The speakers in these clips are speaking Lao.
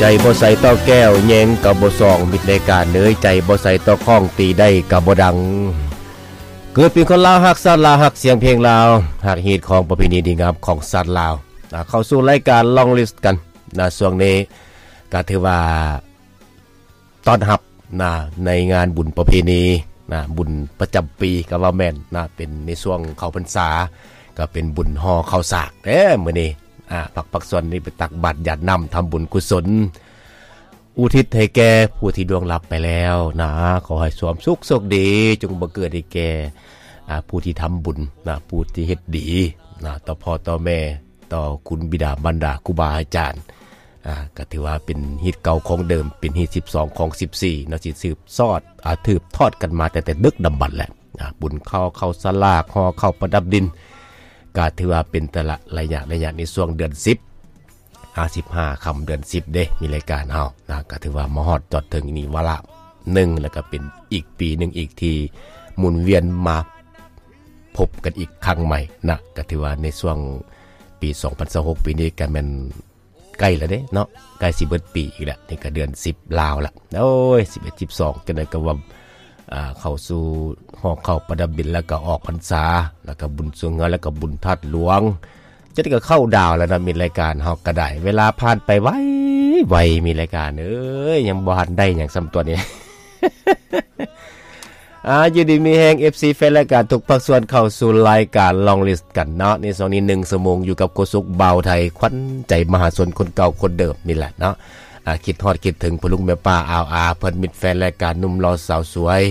ໃຈບໍ່ໃສຕໍ່ແກ້ວ ແຍງກໍບໍ່ສ່ອງ ມິດລາຍການເອີຍ ໃຈບໍ່ໃສຕໍ່ຄ້ອງ ຕີໄດ້ກໍບໍ່ດັງ. ເກີດເປັນຄົນລາວ ຮັກຊາດລາວ ຮັກສຽງເພງລາວ ຮັກຮີດຄອງປະເພນີດີງາມຂອງຊາດລາວ. ອ່າ ເຂົ້າສູ່ລາຍການ Long List ກັນນະ ຊ່ວງນີ້ກໍຖືວ່າ ຕ້ອນຮັບນະ ໃນງານບຸນປະເພນີນະ ບຸນປະຈຳປີກໍວ່າແມ່ນນະ ເປັນໃນຊ່ວງເຂົ້າພັນສາ ກໍເປັນບຸນຫໍ່ເຂົ້າສາກເດ້ມື້ນີ້. ອ່າ ພັກ ພັກສ່ວນນີ້ໄປຕັກບາດຢາດນ້ຳ ທຳບຸນກຸສົນ ອຸທິດໃຫ້ແກ່ຜູ້ທີ່ລ່ວງລັບໄປແລ້ວນະ ຂໍໃຫ້ຄວາມສຸກໂຊກດີ ຈົ່ງບັງເກີດໃຫ້ແກ່ ອ່າ ຜູ້ທີ່ທຳບຸນນະ ຜູ້ທີ່ເຮັດດີນະ ຕໍ່ພໍ່ຕໍ່ແມ່ ຕໍ່ຄຸນບິດາມານດາ ຄູບາອາຈານ. ອ່າ ກໍຖືວ່າເປັນຮີດເກົ່າຂອງເດີມ ເປັນຮີດສິບສອງຂອງສິບສີ່ເນາະ ທີ່ສືບຊອດ ອ່າ ສືບທອດກັນມາແຕ່ ແຕ່ດຶກດຳບັນແຫຼະ. ອ່າ ບຸນເຂົ້າ ເຂົ້າສາກ ຫໍ່ເຂົ້າປະດັບດິນ ກໍຖືວ່າເປັນແຕ່ລະໄລຍະ ໄລຍະໃນຊ່ວງເດືອນສິບ ຫ້າສິບຫ້າຄ່ຳເດືອນສິບເດ້ ມີລາຍການເຮົານະ ກໍຖືວ່າມາຮອດຈອດເຖິງນີ້ວາລະໜຶ່ງ ແລ້ວກໍເປັນອີກປີໜຶ່ງອີກທີ່ໝູນວຽນມາພົບກັນອີກຄັ້ງໃໝ່ນະ. ກໍຖືວ່າໃນຊ່ວງປີສອງພັນຊາວຫົກ ປີນີ້ກໍແມ່ນ ໃກ້ແລ້ວເດ້ເນາະ ໃກ້ຊິເບິດປີອີກແລ້ວ ນີ້ກໍເດືອນສິບລາວລະ ໂອ້ຍ ສິບເອັດ ສິບສອງ ຈັ່ງໃດກໍວ່າ ອ່າ ເຂົ້າສູ່ຫໍ່ເຂົ້າປະດັບດິນ ແລ້ວກໍອອກພັນສາ ແລ້ວກໍບຸນຊ່ວງເຮືອ ແລ້ວກໍບຸນທາດຫຼວງ ຈັ່ງໃດກໍເຂົ້າດາວແລ້ວນະ ມິດລາຍການເຮົາກໍໄດ້. ເວລາຜ່ານໄປໄວ ໄວ ມິດລາຍການເອີຍ ຍັງບໍ່ທັນໄດ້ຫຍັງຊ້ຳຕົວນີ້. ອ່າ ຢູ່ດີມີແຮງ ເອັຟຊີ ແຟນລາຍການທຸກພາກສ່ວນ ເຂົ້າສູ່ລາຍການ Long List ກັນເນາະ ໃນຊ່ວງນີ້ໜຶ່ງຊົ່ວໂມງ ຢູ່ກັບໂຄສົກບ່າວໄທ ຂວັນໃຈມະຫາຊົນຄົນເກົ່າຄົນເດີມນີ້ແຫຼະເນາະ. ອ່າ ຄິດຮອດຄິດເຖິງພໍ່ລຸງແມ່ປ້າອາວອາ ເພື່ອນມິດແຟນລາຍການ ໜຸ່ມຫຼໍ່ສາວສວຍ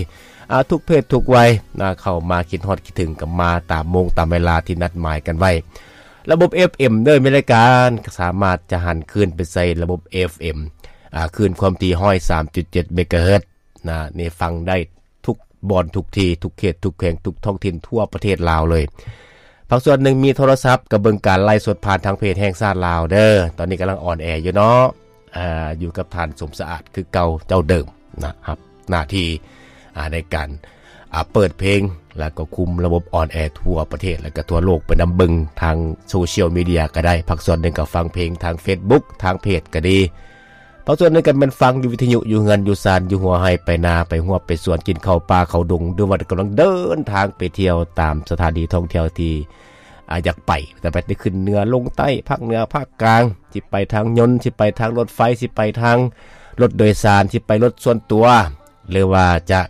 ອ່າ ທຸກເພດທຸກໄວນະ ເຂົ້າມາຄິດຮອດຄິດເຖິງ ກໍມາຕາມໂມງຕາມເວລາທີ່ນັດໝາຍກັນໄວ້. ລະບົບ ເອັຟເອັມ ເດີ ມີລາຍການ ສາມາດຈະຫັນຄືນໄປໃສ່ລະບົບ ເອັຟເອັມ ອ່າ ຄື້ນຄວາມຖີ່ ຮ້ອຍສາມຈຸດເຈັດ ເມກາເຮີດ ນະ ນີ້ຟັງໄດ້ທຸກບ່ອນທຸກທີ່ ທຸກເຂດທຸກແຂວງ ທຸກທ້ອງຖິ່ນທົ່ວປະເທດລາວເລີຍ. ພາກສ່ວນໜຶ່ງມີໂທລະສັບ ກໍເບິ່ງການໄລຟ໌ສົດຜ່ານທາງເພຈແຫ່ງຊາດລາວເດີ ຕອນນີ້ກຳລັງອອນແອຢູ່ເນາະ. ອ່າ ຢູ່ກັບທ່ານສົມສະອາດຄືເກົ່າເຈົ້າເດີມນະ ຮັບໜ້າທີ່ ອ່າ ໃນການ ອ່າ ເປີດເພງ ແລ້ວກໍຄຸມລະບົບອອນແອທົ່ວປະເທດ ແລ້ວກໍທົ່ວໂລກໄປນຳ ເບິ່ງທາງໂຊຊຽວມີເດຍກໍໄດ້ ພາກສ່ວນໜຶ່ງກໍຟັງເພງທາງເຟສບຸກ ທາງເພຈກໍດີ. ພາກສ່ວນໜຶ່ງກໍແມ່ນຟັງຢູ່ວິທະຍຸ ຢູ່ເຮືອນຢູ່ຊານ ຢູ່ຫົວໄຮ່ໄຮ່ນາ ໄປຮວບໄປສວນ ກິນເຂົ້າປ່າເຂົ້າດົງ ຫຼືວ່າກຳລັງເດີນທາງໄປທ່ຽວຕາມສະຖານທີ່ທ່ອງທ່ຽວທີ່ ອ່າ ຢາກໄປ ແຕ່ໄປ ໄດ້ຂຶ້ນເໜືອລົງໃຕ້ ພາກເໜືອພາກກາງ ຊິໄປທາງຍົນ ຊິໄປທາງລົດໄຟ ຊິໄປທາງລົດໂດຍສານ ຊິໄປລົດສ່ວນຕົວ ຫຼືວ່າຈະ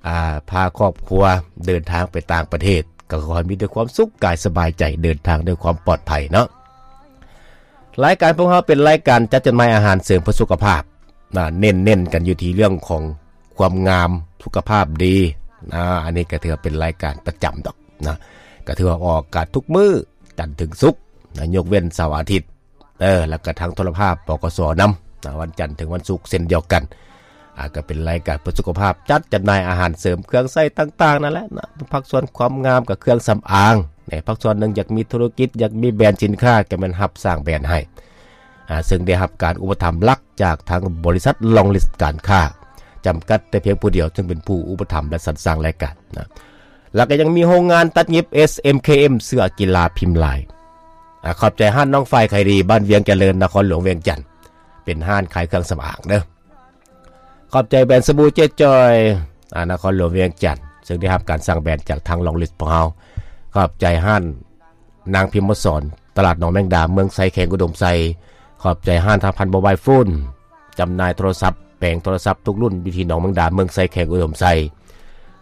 ອ່າ ພາຄອບຄົວເດີນທາງໄປຕ່າງປະເທດ ກໍຂໍໃຫ້ມີແຕ່ຄວາມສຸກກາຍສະບາຍໃຈ ເດີນທາງດ້ວຍຄວາມປອດໄພເນາະ. ລາຍການພວກເຮົາເປັນລາຍການຈັດຈົດໝາຍອາຫານເສີມເພື່ອສຸຂະພາບນະ ເນັ້ນໆກັນຢູ່ທີ່ເລື່ອງຂອງຄວາມງາມ ສຸຂະພາບດີນະ. ອັນນີ້ກໍຖືວ່າເປັນລາຍການປະຈຳດອກນະ ກໍຖືວ່າອອກອາກາດທຸກມື້ ຈັນເຖິງສຸກນະ ຍົກເວັ້ນເສົາອາທິດ ເອີ ແລ້ວກໍທາງໂທລະພາບ ປກສ ນຳນະ ວັນຈັນເຖິງວັນສຸກເຊັ່ນດຽວກັນ. ອ່າ ກໍເປັນລາຍການເພື່ອສຸຂະພາບ ຈັດຈຳໜ່າຍອາຫານເສີມ ເຄື່ອງໃຊ້ຕ່າງໆນັ້ນແຫຼະນະ. ພາກສ່ວນຄວາມງາມກໍເຄື່ອງສຳອາງນະ ພາກສ່ວນໜຶ່ງຢາກມີທຸລະກິດ ຢາກມີແບຣນສິນຄ້າ ກໍແມ່ນຮັບສ້າງແບຣນໃຫ້ ອ່າ ເຊິ່ງໄດ້ຮັບການອຸປະຖຳຫຼັກຈາກທາງບໍລິສັດ Long List ການຄ້າ ຈຳກັດແຕ່ພຽງຜູ້ດຽວ ເຊິ່ງເປັນຜູ້ອຸປະຖຳ ແລະ ສັນສ້າງລາຍການນະ. ແລ້ວກໍຍັງມີໂຮງງານຕັດຫຍິບ ເອສ ເອັມ ເຄ ເອັມ ເສື້ອກິລາພິມລາຍ. ອ່າ ຂອບໃຈຮ້ານນ້ອງຝ້າຍຂາຍດີ ບ້ານວຽງຈະເລີນ ນະຄອນຫຼວງວຽງຈັນ ເປັນຮ້ານຂາຍເຄື່ອງສຳອາງເດີ. ຂອບໃຈແບຣນສະບູເຈຈອຍ ອ່າ ນະຄອນຫຼວງວຽງຈັນ ເຊິ່ງໄດ້ຮັບການສັ່ງແບຣນຈາກທາງ Long List ພວກເຮົາ. ຂອບໃຈຮ້ານນາງພິມມະສອນ ຕະຫຼາດໜອງແມງດາ ເມືອງໄຊ ແຂວງອຸດົມໄຊ. ຂອບໃຈຮ້ານທາພັນໂມບາຍໂຟນ ຈຳໜ່າຍໂທລະສັບ ແປງໂທລະສັບທຸກລຸ້ນ ຢູ່ທີ່ໜອງແມງດາ ເມືອງໄຊ ແຂວງອຸດົມໄຊ.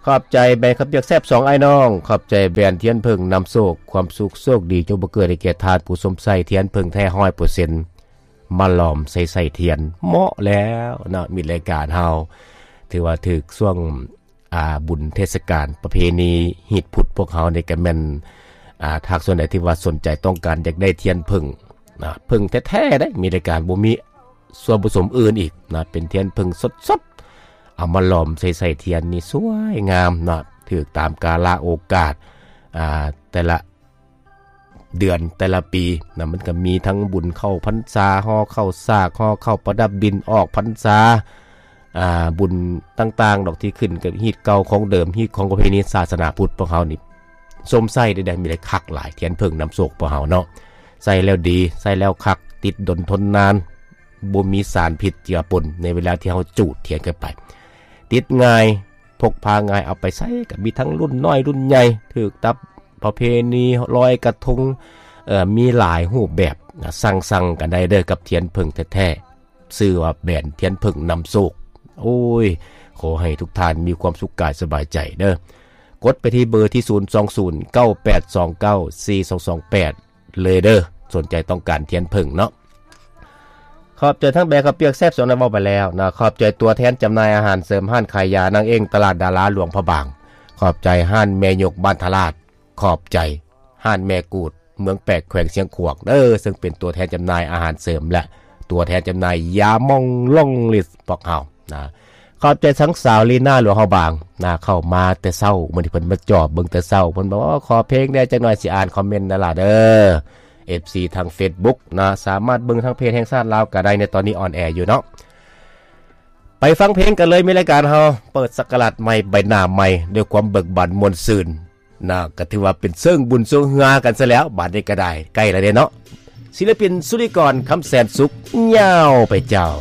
ຂອບໃຈແບຣນເຂົ້າປຽກແຊບສອງອ້າຍນ້ອງ. ຂອບໃຈແບຣນທຽນເຜິ້ງນຳໂຊກ ຄວາມສຸກໂຊກດີ ຈົ່ງບັງເກີດໃຫ້ແກ່ທ່ານຜູ້ຊົມໃຊ້ທຽນເຜິ້ງແທ້ຮ້ອຍເປີເຊັນ ມາຫຼອມໃສ່ໄສ້ທຽນ. ເໝາະແລ້ວເນາະ ມິດລາຍການເຮົາ ຖືວ່າຖືກຊ່ວງ ອ່າ ບຸນເທດສະການປະເພນີຮີດພຸດພວກເຮົານີ້ກໍແມ່ນ ອ່າ ຖ້າສ່ວນໃດທີ່ວ່າສົນໃຈຕ້ອງການຢາກໄດ້ທຽນເຜິ້ງນະ ເຜິ້ງແທ້ໆເດ້ ມີລາຍການ ບໍ່ມີສ່ວນປະສົມອື່ນອີກນະ ເປັນທຽນເຜິ້ງສົດໆ ເອົາມາຫຼອມໃສ່ໄສ້ທຽນນີ້ສວຍງາມນະ ຖືກຕາມກາລະໂອກາດ ອ່າ ແຕ່ລະ ເດືອນແຕ່ລະປີນະ ມັນກໍມີທັງບຸນເຂົ້າພັນສາ ຫໍ່ເຂົ້າສາກ ຫໍ່ເຂົ້າປະດັບດິນ ອອກພັນສາ ອ່າ ບຸນຕ່າງໆດອກ ທີ່ຂຶ້ນກັບຮີດເກົ່າຂອງເດີມ ຮີດຂອງປະເພນີສາສະໜາພຸດພວກເຮົານີ້ ຊົມໃຊ້ໄດ້ ໄດ້ມີໄດ້ຄັກຫຼາຍ ທຽນເຜິ້ງນຳໂຊກພວກເຮົາເນາະ ໃຊ້ແລ້ວດີ ໃຊ້ແລ້ວຄັກ ຕິດດົນທົນນານ ບໍ່ມີສານພິດເຈືອປົນໃນເວລາທີ່ເຮົາຈູດທຽນເຂົ້າໄປ. ຕິດງ່າຍ, ພົກພາງ່າຍ, ເອົາໄປໃສກໍມີທັງລຸ້ນນ້ອຍລຸ້ນໃຫຍ່, ຖືກຕາມປະເພນີລອຍກະທົງ, ເອີ ມີຫຼາຍຮູບແບບ. ສັ່ງໆກັນໄດ້ເດີກັບທຽນເຜິ້ງແທ້ໆ, ຊື່ວ່າແບຣນທຽນເຜິ້ງນຳໂຊກ. ໂອ້ຍ ຂໍໃຫ້ທຸກທ່ານມີຄວາມສຸກກາຍສະບາຍໃຈເດີ. ກົດໄປທີ່ເບີທີ່ ສູນສອງສູນ ເກົ້າແປດສອງເກົ້າ ສີ່ສອງສອງແປດ ເລີຍເດີ, ສົນໃຈຕ້ອງການທຽນເຜິ້ງເນາະ. ຂອບໃຈທັງແບກເຂົ້າປຽກແຊບສວນ ເວົ້າໄປແລ້ວນະ. ຂອບໃຈຕົວແທນຈຳໜ່າຍອາຫານເສີມ ຮ້ານຂາຍຢານາງເອງ ຕະຫຼາດດາລາຫຼວງພະບາງ. ຂອບໃຈຮ້ານແມ່ຍົກບ້ານທະລາດ. ຂອບໃຈຮ້ານແມ່ກູດ ເມືອງແປກ ແຂວງຊຽງຂວາງເດີ, ເຊິ່ງເປັນຕົວແທນຈຳໜ່າຍອາຫານເສີມ ແລະ ຕົວແທນຈຳໜ່າຍຢາໝອງລອງລິດພວກເຮົານະ. ຂອບໃຈທັງສາວລີນາ ຫຼວງພະບາງນະ, ເຂົ້າມາແຕ່ເຊົ້າ, ມື້ນີ້ເພິ່ນມາຈອບເບິ່ງແຕ່ເຊົ້າ, ເພິ່ນບອກວ່າ ຂໍເພງແດ່ຈັກໜ່ອຍ, ຊິອ່ານຄອມເມັນນັ້ນລະເດີ. ເອັຟຊີ ທາງເຟສບຸກນະ, ສາມາດເບິ່ງທາງເພຈແຫ່ງຊາດລາວກໍໄດ້, ໃນຕອນນີ້ອອນແອຢູ່ເນາະ. ໄປຟັງເພງກັນເລີຍ, ມີລາຍການເຮົາເປີດສັກກະລາດໃໝ່, ໃບໜ້າໃໝ່, ດ້ວຍຄວາມເບີກບານມ່ວນຊື່ນນະ, ກໍຖືວ່າເປັນເຊີງບຸນຊ່ວງເຮືອກັນຊະແລ້ວ. ບາດນີ້ກໍໄດ້ ໃກ້ແລ້ວເດ້ເນາະ. ສິລະປິນ ສຸລິກອນ ຄຳແສນສຸກ, ຍາວໄປເຈົ້າ.